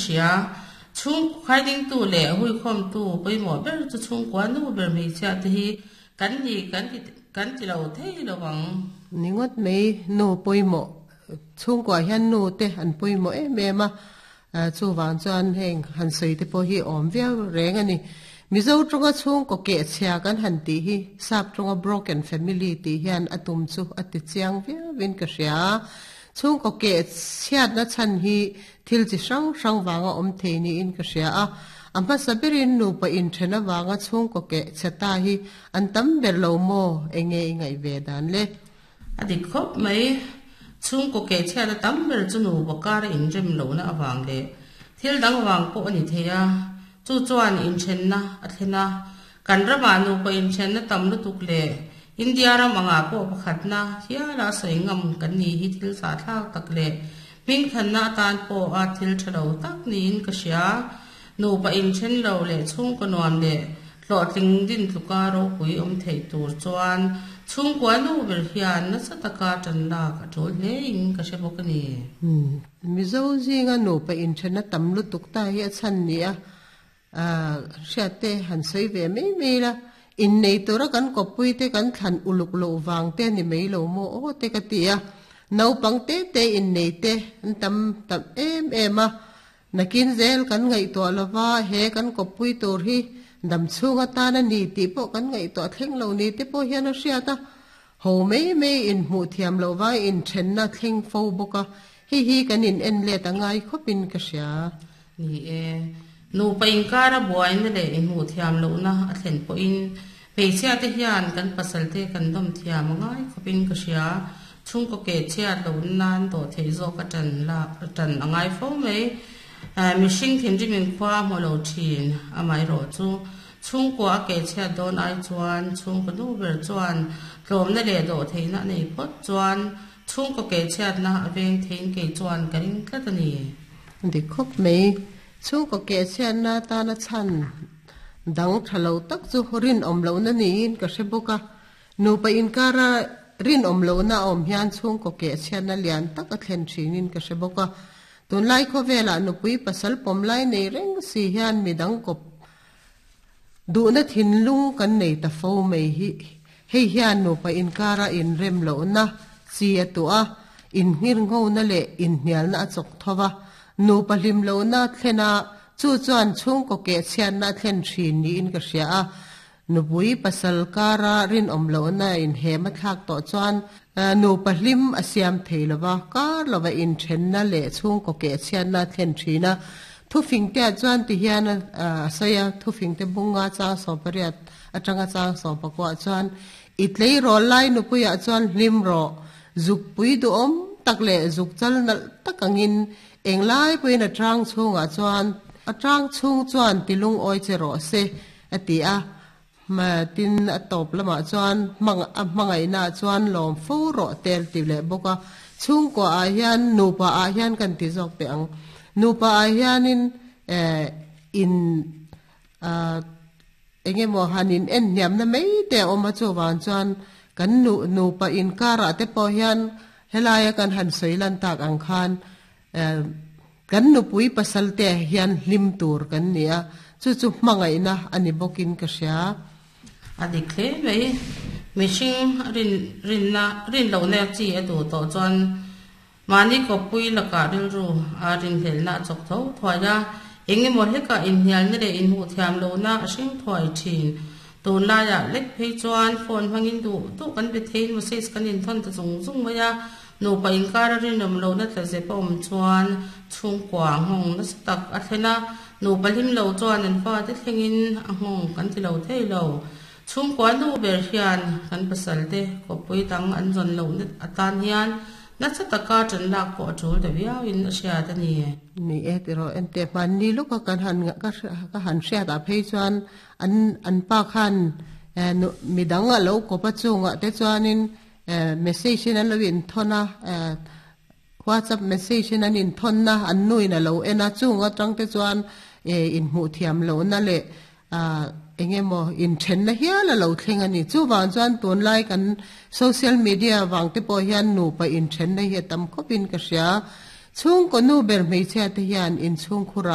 hria. Chhungkaw khaidingtu leh huikhawmtu pawimawh ber chu chhungkua nu ber hmeichhia te hi kan ni kan ti kan ti lo thei lo ang. Ni ngawt mai nu pawimawh chhungkuah hian nu te an pawimawh em em a, chuvang chuan heng han sawi te pawh hi awm viau reng a ni. Mizo tawnga chhungkaw kehchhia kan han tih hi sap tawnga broken family tih hian a tum chu a ti chiang viauin ka hria. Chhungkaw kehchhiatna chhan hi thil chi hrang hrang vanga awm thei niin ka hria a. A hmasa berin nupa inthen avanga chhungkaw kehchhe ta hi an tam ber lo maw? Enge i ngaih ve dan le? A dik khawp mai. Chhungkaw kehchhiatna tam ber chu nupa kara inrem lohna avang leh thil dang vang pawh a ni thei a. Chu chuan inthenna a thlen a. Kan ramah nupa inthenna tam lutuk leh India ram angah pawh pakhatna hiala sawi ngam kan ni hi thil zahthlak tak leh hmingthanna atan pawha thil tha lo tak niin ka hria. Nupa inthen lo leh chhungkaw nuam leh hlawhtling din tluka ropui awm theih tur chuan chhungkua nu ber hian nasa taka tan lak a tul hlein ka hre bawk a ni. Mizo zinga nupa inthenna tam lutuk ta hi a chhan ni a, hriat te han sawi ve mai mai la, innei tura kan kawppui te kan thlan uluk loh vang te ni mai lo maw aw te ka ti a, naupang te te innei te an tam tam em em a, nakin zel kan ngaihtuah lova he kan kawppui tur hi dam chhung atan a ni tih pawh kan ngaihtuah thleng lo ni te pawh hian a hriat a, ho mai mai inhmuh thiam loh vai inthenna thleng fo bawk a, hei hi kan in en let a ngai khawpin ka hria. Ni e, nupa inkara buaina leh inhmuh thiam lohna a thlen pawhin hmeichhia te hian kan pasal te kan dawm thiam a ngai khawpin ka hria. Chhungkaw ke chhiat lohna nan dawh theih zawk a tan lak a tan a ngai fo mai. Mihring thinrim in khua a hmu lo thin, amaherawh chu chhungkua a ke chhiat dawn ai chuan chhungkaw nu ber chuan tlawmna leh dawh theihna a nei phawt chuan Chhungkaw keh chhiatna a veng theiin kei chuan ka ring tlat a ni. Dik khawp mai. Chhungkaw keh chhiatna atana chhan dang tha lo tak chu rinawm lohna niin ka hre bawk a. Nupa inkara rinawm lohna a awm hian chhungkaw keh chhiatna lian tak a thlen thinin ka hre bawk a. Tunlai khawvelah nupui pasal pawm lai nei reng si hian midang kawp Duhna thinlung kan nei ta fo mai hi. Hei hian nupa inkara inrem lohna chi a tuah a, inngirnghona leh inhnialna a chawk tho va. Nupa hlim lohna thlen a, chu chuan chhungkaw kehchhiatna a thlen thin niin ka hria a. Nupui pasal kara rinawm lohna inhem a thlak tawh chuan nupa hlim a siam thei lo va, kar lova inthenna leh chhungkaw kehchhiatna a thlen thin a. Thufingteah chuan ti hian a sawi a, thufingte bunga chang 18 atanga chang 19 chuan, I tleirawl lai nupuiah chuan hlim rawh, zukpui duhawm tak leh zuk chal nalh tak angin englai pawhin a tang chhungah chuan a tang chhung chuan ti lungawi che rawh se, a ti a. Tin, a tawp lamah chuan a hmangaihnaah chuan lawm fo rawh te a ti leh bawk a. Chhungkua ah hian nupa ah hian kan ti zawk teh ang. Nupa ah hianin in eng emaw han in en hniamna mai te a awm a, chuvang chuan kan nupa inkarah te pawh hian helaia kan han sawi lan tak ang khan Kan nupui pasal te hian hlim tur kan ni a, chu chu hmangaihna a ni bawkin ka hria. A dik hle mai. Mihring rin rinna rin lohna chi a duh tawh chuan mahni kawppui lakah rilru a rinhlelhna a chawk tho thuai a, eng emaw hlekah inhnialna leh inhmuh thiam lohna a hring thuai thin. Tunlaiah lek phei chuan phone hmangin duh duh kan be theiin message kan inthawn ta zung zung mai a, Nupa inkar a rinawm lohna tla zep a awm chuan chhungkua a nghawng nasa tak a thlen a, nupa hlim lo chuan an fate thlengin a nghawng kan ti lo thei lo. Chhungkua nu ber hian kan pasal te kawppui dang an zawn lohna atan hian nasa taka ṭan lak pawh a ṭul ta viauin a hriat a ni. Ni e tiraw enteh hmanni lawka kan han ka han hriat ah phei chuan an an pa khan midang a lo kawp a chungah te chuanin Message in an lo inthawn a, WhatsApp message in an inthawn a, an nu in a lo en a, chung atang te chuan inhmuh thiam lohna leh eng emaw inthenna hial a lo thleng a ni. Chuvang chuan tunlai kan social media vang te pawh hian nupa inthenna hi a tam khawpin ka hria. Chhungkaw nu ber hmeichhia te hian inchhungkhurah.